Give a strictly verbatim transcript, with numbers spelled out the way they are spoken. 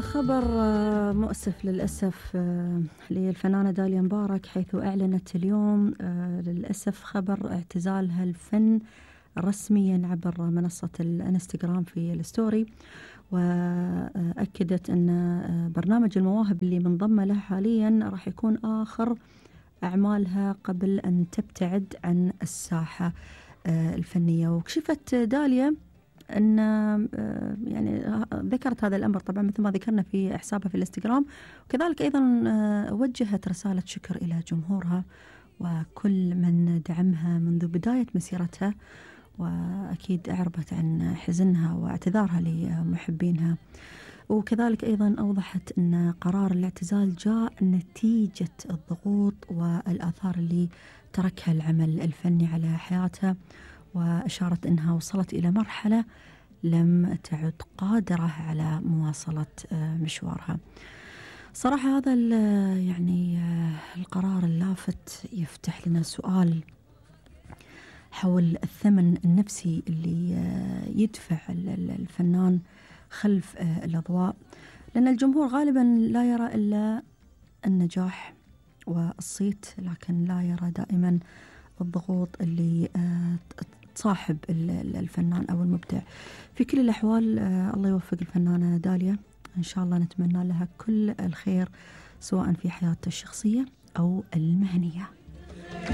خبر مؤسف للأسف للفنانة داليا مبارك، حيث أعلنت اليوم للأسف خبر اعتزالها الفن رسميا عبر منصة الانستغرام في الستوري. وأكدت أن برنامج المواهب اللي منضمة له حاليا راح يكون آخر أعمالها قبل أن تبتعد عن الساحة الفنية. وكشفت داليا أن يعني ذكرت هذا الأمر طبعا مثل ما ذكرنا في حسابها في الانستغرام، وكذلك أيضا وجهت رسالة شكر إلى جمهورها وكل من دعمها منذ بداية مسيرتها، وأكيد أعربت عن حزنها واعتذارها لمحبينها. وكذلك أيضا أوضحت أن قرار الاعتزال جاء نتيجة الضغوط والآثار اللي تركها العمل الفني على حياتها، وأشارت أنها وصلت إلى مرحلة لم تعد قادرة على مواصلة مشوارها. صراحة هذا يعني القرار اللافت يفتح لنا سؤال حول الثمن النفسي اللي يدفع الفنان خلف الأضواء، لأن الجمهور غالبا لا يرى إلا النجاح والصيت، لكن لا يرى دائما الضغوط اللي تصاحب الفنان أو المبدع. في كل الأحوال الله يوفق الفنانة داليا، إن شاء الله نتمنى لها كل الخير سواء في حياتها الشخصية أو المهنية.